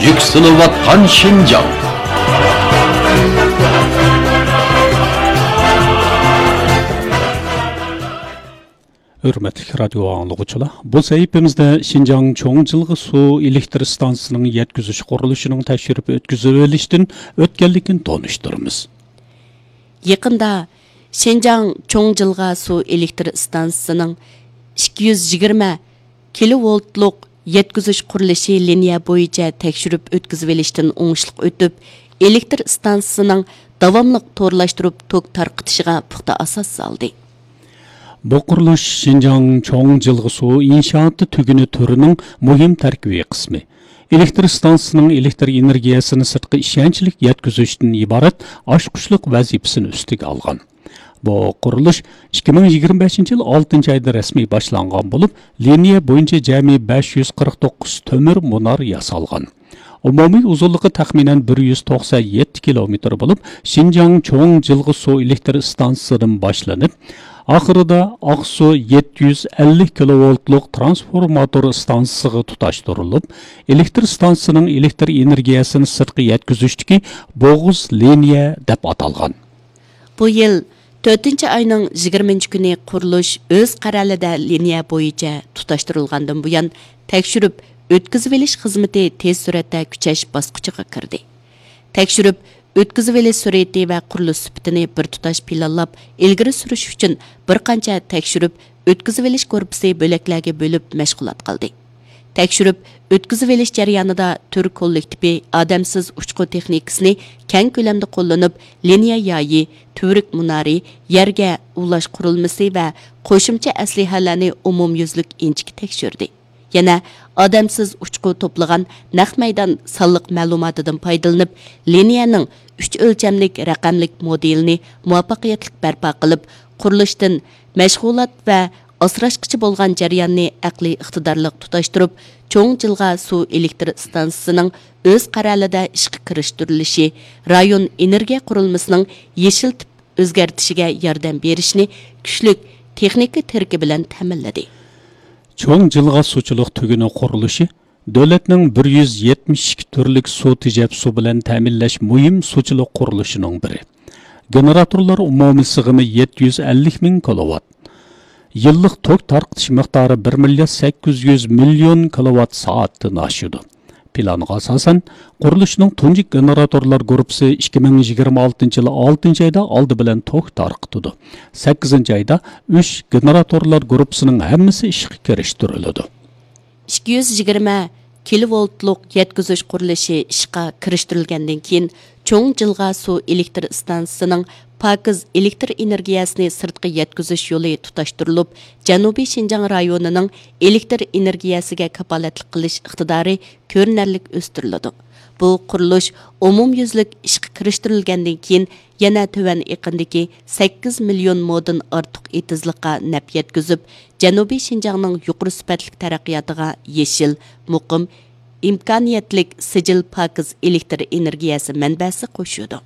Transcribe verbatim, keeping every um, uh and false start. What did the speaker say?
يۈكسىلىۋاتقان شىنجاڭ. ھۆرمەتلىك رادىيو ئاڭلىغۇچىلار، بۇ سەھىپىمىزدە شىنجاڭ چوڭ جىلغا سۇ ئېلېكتر ئىستانسىسىنىڭ يەتكۈزۈش قۇرۇلۇشىنىڭ تەكشۈرۈپ ئۆتكۈزۈۋېلىشتىن ئۆتكەنلىكىنى تونۇشتۇرىمىز. يېقىندا شىنجاڭ چوڭ جىلغا سۇ ئېلېكتر ئىستانسىسىنىڭ ئىككى يۈز يىگىرمە كىلوۋولتلۇق يەتكۈزۈش قۇرۇلۇشى لىنىيە بويىچە تەكشۈرۈپ ئۆتكۈزۈۋېلىشتىن ئوڭۇشلۇق ئۆتۈپ، ئېلېكتر ئىستانسىسىنىڭ داۋاملىق تورلاشتۇرۇپ توك تارقىتىشىغا پۇختا ئاساس سالدى. بۇ قۇرۇلۇش شىنجاڭ چوڭ جىلغا سۇ ئىنشائاتى تۈگۈنى تۈرىنىڭ مۇھىم تەركىبىي قىسمى. ئېلېكتر ئىستانسىسىنىڭ ئېلېكتر ئېنېرگىيەسىنى سىرتقا ئىشەنچلىك يەتكۈزۈشتىن ئىبارەت ئاچقۇچلۇق ۋەزىپىسىنى ئۈستىگە ئالغان. بۇ قۇرۇلۇش ئىككى مىڭ يىگىرمە بەشىنچى يىل ئالتىنچى ئايدا رەسمىي باشلانغان بولۇپ، لىنىيە بويىچە جەمئىي بەش يۈز قىرىق توققۇز تۆمۈر مۇنار ياسالغان. ئومۇمىي ئۇزۇنلۇقى تەخمىنەن بىر يۈز توقسان يەتتە كىلومېتىر بولۇپ، شىنجاڭ چوڭ جىلغا سۇ ئېلېكتر ئىستانسىسىدىن باشلىنىپ، ئاخىرىدا ئاقسۇ يەتتە يۈز ئەللىك كىلوۋولتلۇق ترانسفورماتور ئىستانسىسىغا تۇتاشتۇرۇلۇپ، ئېلېكتر ئىستانسىسىنىڭ ئېلېكتر ئېنېرگىيەسىنى سىرتقا يەتكۈزۈشتىكى بوغۇز لىنىيە دەپ ئاتالغان. بۇ يىل تۆتىنچى ئاينىڭ يىگىرمىنچى كۈنى قۇرۇلۇش ئۆز قەرەلىدە لىنىيە بويىچە تۇتاشتۇرۇلغاندىن بۇيان، تەكشۈرۈپ ئۆتكۈزۈۋېلىش خىزمىتى تېز سۈرئەتتە كۈچەش باسقۇچىغا كىردى. تەكشۈرۈپ ئۆتكۈزۈۋېلىش سۈرئىتى ۋە قۇرۇلۇش سۈپىتىنى بىر تۇتاش پىلانلاپ ئىلگىرى سۈرۈش ئۈچۈن بىر قانچە تەكشۈرۈپ ئۆتكۈزۈۋېلىش گۇرۇپپىسى بۆلەكلەرگە بۆلۈپ مەشغۇلات قىلدى. تەكشۈرۈپ ئۆتكۈزۈۋېلىش جەريانىدا تۈر كوللېكتىپى ئادەمسىز ئۇچقۇ تېخنىكىسىنى كەڭ كۆلەمدە قوللىنىپ، لىنىيە يايى، تۈۋرۈك مۇنارى، يەرگە ئۇلاش قۇرۇلمىسى ۋە قوشۇمچە ئەسلىھەلەرنى ئومۇميۈزلۈك ئىنچىكە تەكشۈردى. يەنە ئادەمسىز ئۇچقۇ توپلىغان نەق مەيدان سانلىق مەلۇماتىدىن پايدىلىنىپ، لىنىيەنىڭ ئۈچ ئۆلچەملىك رەقەملىك مودېلىنى مۇۋەپپەقىيەتلىك بەرپا قىلىپ، قۇرۇلۇشتىن مەشغۇلات ۋە ئاسراشقىچە بولغان جەرياننى ئەقلىي ئىقتىدارلىق تۇتاشتۇرۇپ، چوڭ جىلغا سۇ ئېلېكتر ئىستانسىسىنىڭ ئۆز قەرەلىدە ئىشقا كىرىشتۈرۈلۈشى رايون ئېنېرگىيە قۇرۇلمىسىنىڭ يېشىل تىپ ئۆزگەرتىشىگە ياردەم بېرىشنى كۈچلۈك تېخنىكا تىرىكى بىلەن تەمىنلىدى. چوڭ جىلغا سۇچىلىق تۈگۈنى قۇرۇلۇشى دۆلەتنىڭ بىر يۈز يەتمىش ئىككى تۈرلۈك سۇ تېجەپ سۇ بىلەن تەمىنلەش مۇھىم سۇچىلىق قۇرۇلۇشىنىڭ بىرى. گېنېراتورلار ئومۇمىي سىغىمى يەتتە يۈز ئەللىك مىڭ كىلوۋات. يىللىق توك تارقىتىش مىقدارى بىر مىليارد سەككىز يۈز مىليون كىلوۋات سائەتتىن ئاشىدۇ. پىلانغا ئاساسەن، قۇرۇلۇشنىڭ تۇنجى گېنېراتورلار گۇرۇپپىسى ئىككى مىڭ يىگىرمە ئالتىنچى يىل ئالتىنچى ئايدا ئالدى بىلەن توك تارقىتىدۇ. سەككىزىنچى ئايدا ئۈچ گېنېراتورلار گۇرۇپپىسىنىڭ ھەممىسى ئىشقا كىرىشتۈرۈلىدۇ. ئىككى يۈز يىگىرمە كىلوۋولتلۇق يەتكۈزۈش قۇرۇلۇشى ئىشقا كىرىشتۈرۈلگەندىن كېيىن، چوڭ جىلغا سۇ ئېلېكتر ئىستانسىسىنىڭ پاكىز ئېلېكتر ئېنېرگىيەسىنى سىرتقا يەتكۈزۈش يولى تۇتاشتۇرۇلۇپ، جەنۇبىي شىنجاڭ رايونىنىڭ ئېلېكتر ئېنېرگىيەسىگە كاپالەتلىك قىلىش ئىقتىدارى كۆرۈنەرلىك ئۆستۈرۈلىدۇ. بۇ قۇرۇلۇش ئومۇميۈزلۈك ئىشقا كىرىشتۈرۈلگەندىن كېيىن، يەنە تۆۋەن ئېقىندىكى سەككىز مىليون مودىن ئارتۇق ئېتىزلىققا نەپ يەتكۈزۈپ، جەنۇبىي شىنجاڭنىڭ يۇقىرى سۈپەتلىك تەرەققىياتىغا يېشىل، مۇقىم، ئىمكانىيەتلىك سىجىل پاكىز ئېلېكتر ئېنېرگىيەسى مەنبەسى قوشۇلىدۇ.